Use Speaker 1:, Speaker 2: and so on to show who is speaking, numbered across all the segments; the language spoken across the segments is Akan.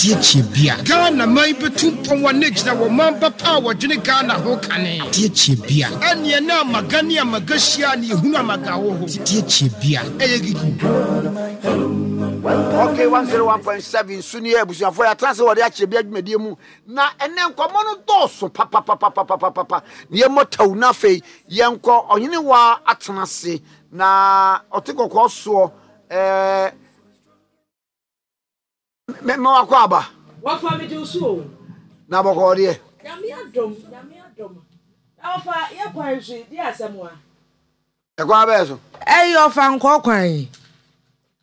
Speaker 1: Deɛ kyɛ bia.
Speaker 2: Ghana man bɛtu mpɔn a na ɛgyina wɔ man ba pa a wɔdwene Ghana ho kane.
Speaker 1: Deɛ kyɛ bia.
Speaker 2: Ɛneɛ na Amaga ne Amaga hyia a na yɛhunu Amaga wɔ hɔ.
Speaker 1: Deɛ kyɛ bia.
Speaker 2: Ɛyɛ gigi.
Speaker 3: Okay, 101.7 so nie abusuafoɔ yɛatena ase wɔde akyerɛ bi adwumadie mu na ɛnɛ nkɔmmɔ no dɔɔso papapapapapapa na yɛmmɔ taw na afei yɛnkɔ ɔhene wa atena ase na ɔte kɔkɔɔ soɔ ɛɛ Me me wakɔ aba.
Speaker 4: Wɔfa me gye wo so o.
Speaker 3: Na bɔkɔɔ deɛ.
Speaker 4: Nyame adom, Nyame adom. Na wɔfa yɛ kwan so yi, deɛ asɛm a.
Speaker 3: Ɛkwan abɛɛ so.
Speaker 4: Ɛyi ɔfa nkɔ kwan yi.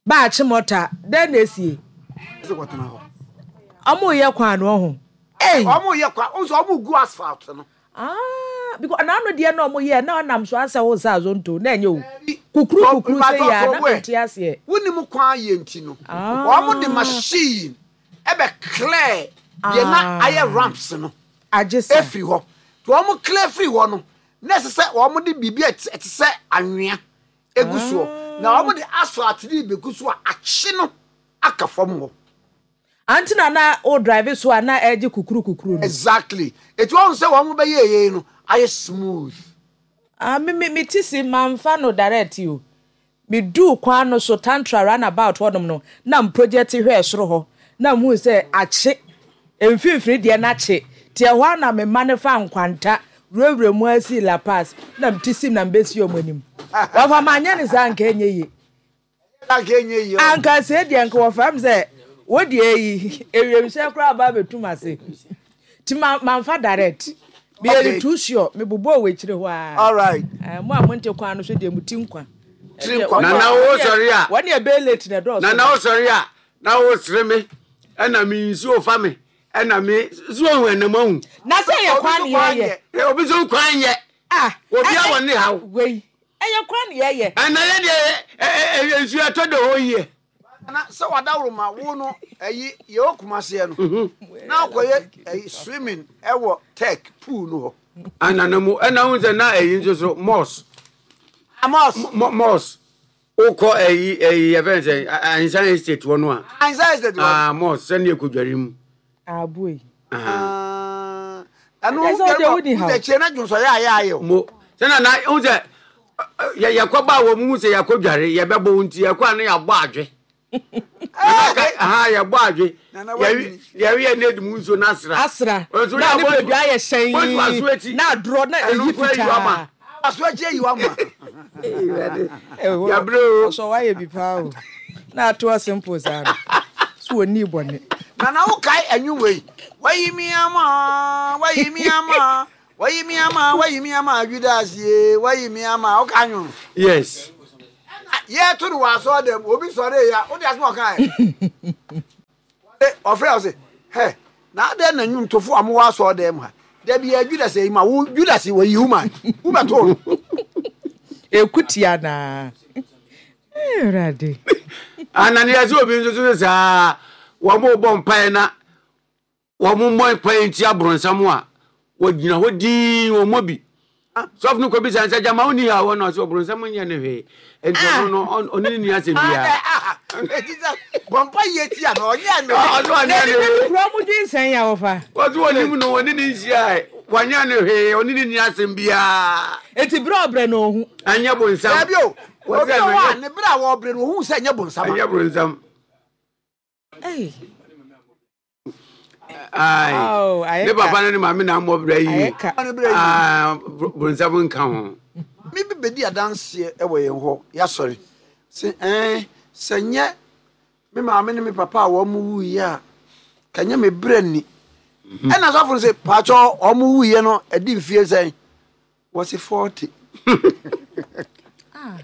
Speaker 4: Ba akye mɔta, dɛn na esie?
Speaker 3: Ɛsɛ kɔtena hɔ.
Speaker 4: Ɔmo yɛ kwan no ɔho. Ei.
Speaker 3: Ɔmo yɛ kwan, ɔmo sɛ ɔmo gu asphalt no.
Speaker 4: Ah, because n'ano deɛ na ɔmo yɛ na ɔnam so asɛ wo sɛ azonto na ɛnyɛ o. Kukuru kukuru sɛ yɛ a na mente aseɛ.
Speaker 3: Wonim kwan yɛ nti no, wɔn de machine ɛbɛ clear deɛ na ayɛ ramps no efiri hɔ. Nti wɔn clear firi hɔ no, na ɛsɛ sɛ wɔn de biribi a ɛte sɛ anwea egu soɔ. Na wɔn de asphalt no begu so a akye no aka fam hɔ.
Speaker 4: Ante na na wo drive so a na ɛgye kukuru kukuru no.
Speaker 3: Exactly. Eti wahu sɛ wɔn bɛyɛ yei no ayɛ smooth.
Speaker 4: Ah me me me ti si manfa no direct o. Me duu kwan no so tantra run about hɔ nom no na me project hwɛɛ soro hɔ na me hui sɛ akye mfimfini deɛ no akye nti ɛhɔ ara na me ma no faa nkwanta wurawura mu ara sii La Paz na me ti sim na me bɛsi wɔn anim. Wɔfa manyɛ no saa nka ɛnyɛ yie. Anka sei deɛ nka wɔfrɛ me sɛ wo deɛ yi ewiemhyɛn koraa aba abɛtum ase nti ma mamfa direct meyɛ no too sure mebobɔɔ wɔ akyire hɔ ara
Speaker 3: Alright.
Speaker 4: Eh, mo a monte kwan no so deɛ mo ti nkwa
Speaker 3: Tiri nkwa.
Speaker 5: Nana wo sɔre a.
Speaker 4: Wɔne ɛbɛyɛ late na ɛdɔɔso.
Speaker 5: Nana wo sɔre a na wo sere me ɛna me nsuo fa me ɛna me so ohun ɛnam ahu.
Speaker 4: Na sɛ yɛ kwan ne yɛyɛ.
Speaker 5: Obi so kwan yɛ.
Speaker 4: Ah.
Speaker 5: Obi a wɔn ne haw.
Speaker 4: Wei. Ɛyɛ kwan na yɛyɛ.
Speaker 5: Ɛna yɛ deɛ ɛ nsuo ɛtɔ da hɔ yie.
Speaker 3: Na sɛ wadaworo ma wo no ɛyi yɛ wɔ kumaseɛ no na akɔyɛ ɛyi swimming ɛwɔ tech pool no hɔ.
Speaker 5: Ɛna na mu ɛna ho sɛ na ɛyi nso so mɔs.
Speaker 3: Mɔs.
Speaker 5: Mɔs wokɔ ɛyi ɛyi yɛfɛn sɛ Ahinsan estate hɔ no a.
Speaker 3: Ahinsan estate hɔ.
Speaker 5: Ah mɔs sɛnea ɛkɔdware mu.
Speaker 4: Aboe.
Speaker 3: Ah, ɛno wo dware wɔ wo kyerɛ na dwonsɔ yɛ ayɛ ayɛ o.
Speaker 5: Mo sɛ na na wo sɛ yɛ yɛkɔ ba wɔ mu sɛ yɛkɔ dware yɛbɛbɔ wo nti yɛkɔ a na yɛabɔ adwe. Aha yɛbɔ adwe yɛwe yɛ na edi mu nsuo na asra.
Speaker 4: Asra na ne bɛdwa ayɛ hyɛn na adorɔ na eyi fitaa.
Speaker 3: Aso akyi ayi wa ma.
Speaker 5: Yabrɛ o.
Speaker 4: Ɔsɔ wayɛ bi paa o. Na atoɔ simple saa no. So wɔ nii bɔne.
Speaker 3: Nana wo kae ɛnwom wei. Wayi mi ama, wayi mi ama, wayi mi ama, wayi mi ama, Judas ye, wayi mi ama. Wo kae nwom no?
Speaker 5: Yes.
Speaker 3: Ɛna yɛto no wɔ asɔre dɛm, obi sɔre ya, wo de asɛm a ɔkae. Ɔfrɛ ɔse, hɛ, na adɛn na nnwomtofo a mowɔ asɔɔdan mu ha, da biara Judas ayi ma wo, Judas wayi wo ma, wobɛtoo no.
Speaker 4: Ɛku tia naa. Awurade.
Speaker 5: Ananias obi nso so saa wɔn bɔ mpae na wɔn mmɔ mpae ntia borɔnsam a wɔgyina hɔ dinn wɔn mmɔ bi. Sɔfo no kɔbisa no sɛ, Gyama wonni haw hɔ? Na ɔsɛ ɔbronsam nyɛ no hwee. Enti ɔno no, ɔne ne nni asɛm biara.
Speaker 3: Enti sɛ bɔmpa yie tia no, ɔnyɛ no
Speaker 5: hwee. Ɔsɛ ɔnyɛ no hwee.
Speaker 4: Kura mu dwen sɛn a wɔfa?
Speaker 5: Ɔsɛ ɔnim no, ɔne ne nhyiae. Wanyɛ no hwee, ɔne ne nni asɛm biara.
Speaker 4: Enti berɛ a ɔbrɛ no ɔhu.
Speaker 5: Ɛnyɛ bonsam.
Speaker 3: Dabi o, obi wɔ hɔ a ne berɛ a wɔbrɛ no ɔhu sɛ ɛnyɛ bonsam.
Speaker 5: Ɛnyɛ bonsam.
Speaker 4: Ei.
Speaker 5: Ae. Ne papa ne ne maame na mmɔ bra yie. Ah, bronsam nka ho.
Speaker 3: Me bi bɛdi adanseɛ wɔ yɛn hɔ yɛasɔre sɛ ɛn sɛ nyɛ me maame ne me papa a wɔn wuiɛ a ka nyɛ me berɛ nni mhm. ɛna sɔfo no sɛ paakyɛ wɔn wuiɛ no ɛdi mfie sɛn wɔse 40
Speaker 4: ah.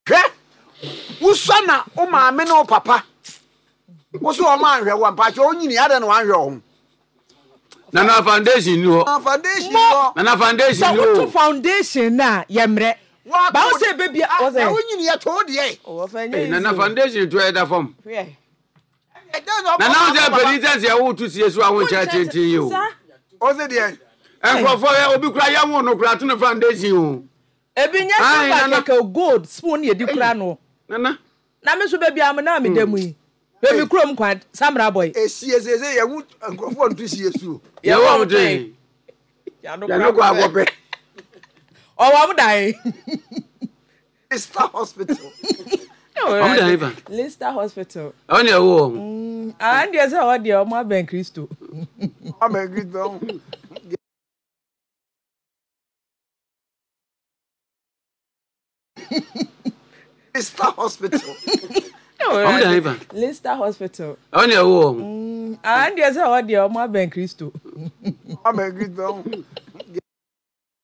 Speaker 3: Hwɛ, wosua na wo maame ne wo papa wo so wɔn anhwɛ wo mpakyɛ onyini adɛn na wanhwɛ wɔn.
Speaker 5: Nana foundation ni hɔ.
Speaker 3: Nana foundation ni hɔ.
Speaker 5: Nana foundation ni hɔ.
Speaker 4: Sɛ woto foundation na yɛ mmerɛ. Ba wo sɛ ebe bia.
Speaker 3: Na wonyini yɛ to deɛ.
Speaker 5: Hey, Nana foundation to ɛda fam. Nana wo sɛ panin sɛ sɛ woto sie so a wonkyɛ tenten yi o.
Speaker 3: Ɔsɛ deɛ.
Speaker 5: Nkurɔfoɔ yɛ obi kura yɛ wo no kura to no foundation o.
Speaker 4: Ebi nyɛ silver kɛkɛ o, gold spoon na yɛde kura no.
Speaker 5: Nana.
Speaker 4: Na me nso baabi a na meda mu yi, hwɛ me kurom kwan, Samra boy.
Speaker 3: Esie seesei yɛn nkurɔfoɔ nto sie so o.
Speaker 5: Yɛwɔ wɔn den. Yɛn kɔ akɔpɛ.
Speaker 4: Ɔwɔ wɔn dan.
Speaker 3: Lister Hospital.
Speaker 5: Wɔn dan fa.
Speaker 4: Lister Hospital.
Speaker 5: Ɛwɔ na ɛwɔ wɔn.
Speaker 4: Ah, deɛ sɛ ɔwɔ deɛ wɔn abɛn Kristo.
Speaker 3: Abɛn Kristo. Lister Hospital.
Speaker 5: Wɔn dan fa.
Speaker 4: Lister Hospital.
Speaker 5: Ɛwɔ na ɛwɔ wɔn.
Speaker 4: Ah, deɛ sɛ ɔwɔ deɛ wɔn abɛn Kristo.
Speaker 3: Abɛn Kristo.